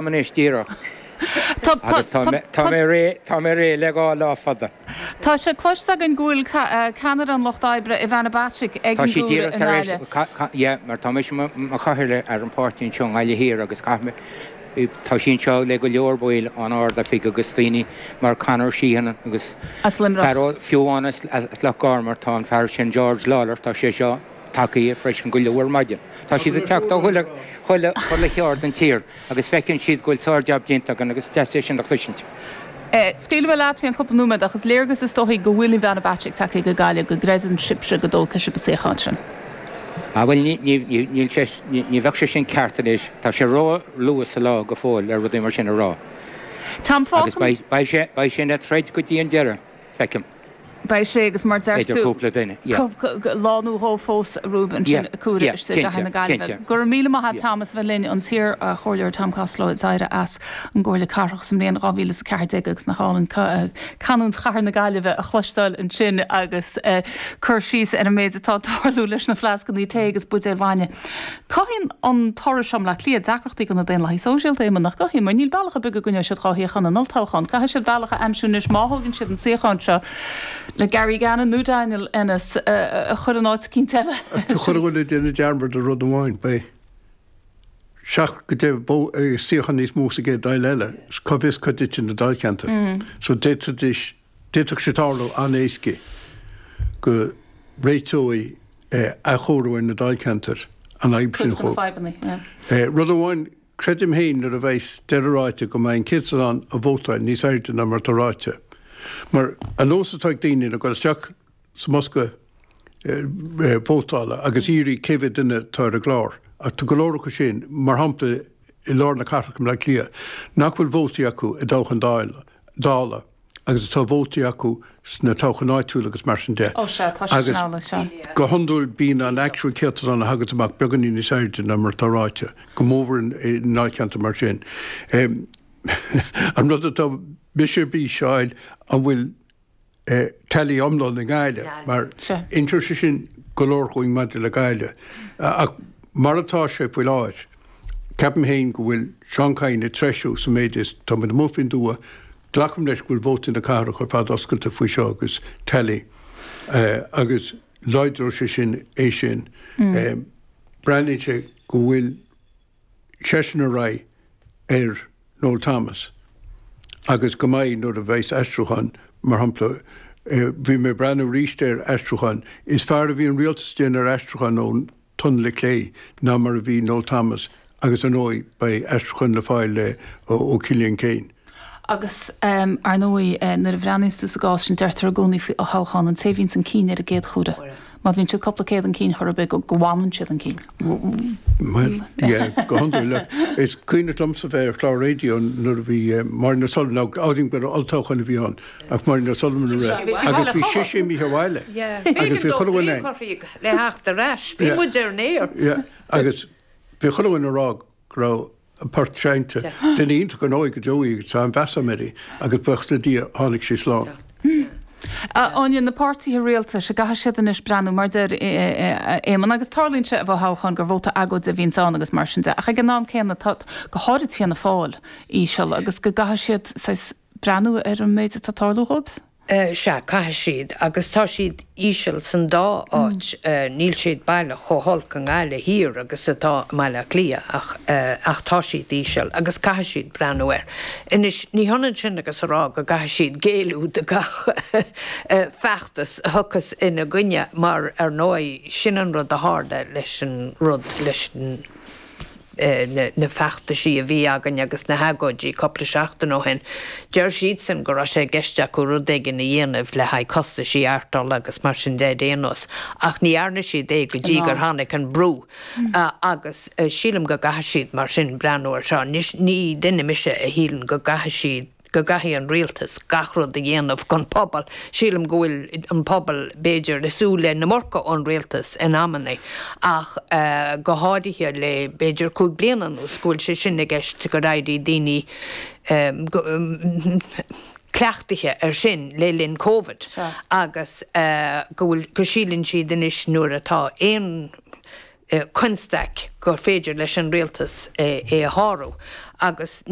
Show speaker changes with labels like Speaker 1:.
Speaker 1: Anois díreach. Agus tá mé, tá mé réidh, tá mé réidh le 2 lá fada.
Speaker 2: Tá sé cloiste againn go bhfuil ceannaire an Lucht Oibre, Ivana Bacik, ag
Speaker 1: Tá
Speaker 2: an
Speaker 1: sí
Speaker 2: gCuaire
Speaker 1: díreach
Speaker 2: i
Speaker 1: tar éis,
Speaker 2: nGaillimh.
Speaker 1: yeah, mar tá mise mo chathaoirleach ar an pháirtí anseo i nGaillimh Thiar agus caithfidh mé, tá sí anseo le go leor baill ón Ard-Oifig agus daoine mar Conor Sheehan agus
Speaker 2: As Luimneach.
Speaker 1: fear ó, fiú amháin as, as Loch Garman, tá an fear sin George Lawlor, tá sé seo tagtha freisin go luath ar maidin. Tá siad ag teacht ó chuile, chuile, chuile cheard den tír. Agus feiceann siad go bhfuil sár-jab déanta againn agus is deas é sin a chloisint.
Speaker 2: Scaoilfidh mé leat faoi cheann cúpla nóiméad ach is léargas is dóichí go bhfuil Ivana Bacik tagtha go Gaillimh go gcreideann sibhse go dtógfaidh sibh an suíochán sin.
Speaker 1: Ah bhuel ní, ní, ní, níl sé, ní, ní bheadh sé sin ceart anois. Tá sé ró-luath sa lá go fóill le rudaí mar sin a rá.
Speaker 2: Tom,
Speaker 1: Agus beidh, beidh sé, beidh sé ina troid go dtí an deireadh, feicim.
Speaker 2: Beidh sé agus mar deir
Speaker 1: Idir
Speaker 2: tú,
Speaker 1: cúpla duine, yeah.
Speaker 2: lá nó dhó fós romhaibh ansin
Speaker 1: Yeah,
Speaker 2: ag Cuaire
Speaker 1: yeah,
Speaker 2: istigh i gcathair
Speaker 1: cinnte,
Speaker 2: na Gaillimhe.
Speaker 1: cinnte.
Speaker 2: Go raibh míle maith a't
Speaker 1: Yeah.
Speaker 2: Tom as bheith linn, an t-iar-chomhairleoir Tom Costello a d'éirigh as an gComhairle Cathrach sa mbliain 2014 agus nach álainn canúint chathair na Gaillimhe a chloisteáil ansin agus cur síos ar an méid atá ag tarlú leis na fleascannaí tae agus buidéil bhainne. Cothaíonn an toradh seo i mBleá Cliath deacrachtaí do na Daonlathaigh Sóisialta, Éamonn, nach gcothaíonn? Mar níl bealach ar bith go gcoinneoidh siad 2 shuíochán in olltoghchán. Caithfidh siad bealach a aimsiú anois má thógann siad an suíochán seo le Gary Gannon nó Daniel Ennis a chur in áit eicínt eile.
Speaker 3: Ach tá chuile dhuine ag déanamh dearmad ar rud amháin, beidh 7 go 10 suíochán níos mó sa gcéad Dáil eile, cá bhfios cá dtitfidh na dáilcheantair. So d'fhéadfaidís, d'fhéadfadh sé tarlú an-éasca go réiteoidh athchóiriú ar na dáilcheantair an fhadhb sin
Speaker 2: Cuid de na
Speaker 3: chomh.
Speaker 2: fadhbanna, yeah.
Speaker 3: Rud amháin, creidim féin nuair a bheas deireadh ráite go mbeidh an céatadán a vótáil níos airde ná mar atá ráite. Mar an nós atá ag daoine ná dul isteach sa mbosca vótála agus iarraidh cé mhéad duine atá ar an gclár. Ach tá go leor acu sin, mar shampla i lár na cathrach i mBleá Cliath, nach bhfuil vótaí acu i dtoghchán Dála. agus atá vótaí acu sna toghcháin áitiúla agus mar sin de.
Speaker 2: Ó sea, tá sé sin amhlaidh, sea.
Speaker 3: Go hiondúil bíonn an actual céatadán a thaganns amach beagáinín níos airde ná mar atá ráite, go mórmhór i ndáilcheantair mar sin. An rud atá mise ar bís a fháil, an bhfuil tally iomlán i nGaillimh, mar inseoidh sé sin go leor dhúinn maidir le Gaillimh. Ach mar atá sé faoi láthair, ceapaim féin go bhfuil Seán Kyne ag treisiú sa méid is tá muid amuigh faoin dtuath, Glacaim leis go bhfuil vótaí na cathrach ar fad oscailte faoi seo agus tally agus láidreoidh sé sin é sin. Breathnaíonn sé go bhfuil seisean ar aghaidh ar Noel Thomas agus go mbeidh nuair a bheas aistriúchán, mar shampla, bhí mé ag breathnú arís ar aistriúchán, is fearr a bhí an rialtas ag déanamh ar aistriúchán ón Tunnel Clé ná mar a bhí Noel Thomas agus ar ndóigh beidh aistriúchán le fáil le ó Killian Keane.
Speaker 2: Agus ar ndóigh nuair a bhreathnaíonns tú sa gcás sin deirtear i gcónaí faoi thoghchán an té a bhíonns chun cinn ar an gcéad chuaire, má bhíonn siad cúpla céad chun cinn chor ar bith go bhfanann siad chun cinn.
Speaker 3: Bhuel, yeah, go hiondúil. Is cuimhneach liomsa bheith ar chlár raidió nuair a bhí Máirín O'Sullivan, nó abraim gur olltoghchán a bhí ann, ach Máirín O'Sullivan a rith agus bhí sise imithe abhaile agus bhí chuile dhuine
Speaker 4: le theacht ar ais. Bhí muid ar an aer.
Speaker 3: Yeah, agus bhí chuile dhuine ag rá go raibh a port seinnte. Duine iontach ar ndóigh go deo í agus tá an-mheas agam uirthi agus buíochas le Dia tháinig sí slán.
Speaker 2: Áine, na páirtithe rialtais, an gcaithfidh siad anois breathnú, mar deir Éamonn, agus tarlaíonn sé i bhfothoghchán gur vóta agóide a bhíonns ann agus mar sin de, ach ag an am céanna tá, go háirid Fianna Fáil, íseal agus go gcaithfidh siad saghas breathnú ar an méid atá ag tarlú dhóibh?
Speaker 4: Sea, caithfidh siad, agus tá siad íseal san dá áit. Níl siad baileach chomh holc i nGaillimh Thiar agus atá i mBaile Átha Cliath ach, ach tá siad íseal agus caithfidh siad breathnú air. Anois, ní hionann sin agus a rá go gcaithfidh siad géilleadh do gach feachtas a thiocfas ina gcoinne mar, ar ndóigh, sin an rud a tharla leis an rud, leis an. na feachtaisí a bhí againn agus na hagóidí cúpla seachtain ó shin, deir siadsan go raibh sé i gceist acu rud éigin a dhéanamh le haghaidh costaisí artola agus mar sin de ar aon nós, ach ní dhearna siad é go dtí gur tháinig an brú agus sílim go gcaithfidh siad mar sin breathnú ar seo. Anois ní duine mise a shíleann go gcaithfidh siad go gcaithfidh an rialtas gach rud a dhéanamh don phobal. Sílim go bhfuil an pobal, b'fhéidir, ag súil le an iomarca ón rialtas in amannaí ach go háirithe le b'fhéidir 5 bliana anuas go bhfuil sé sin i gceist gur éirigh daoine cleachtaithe ar sin le linn Covid agus go bhfuil, go síleann siad anois nuair atá aon. Constaic gur féidir leis an rialtas é a shárú agus ní.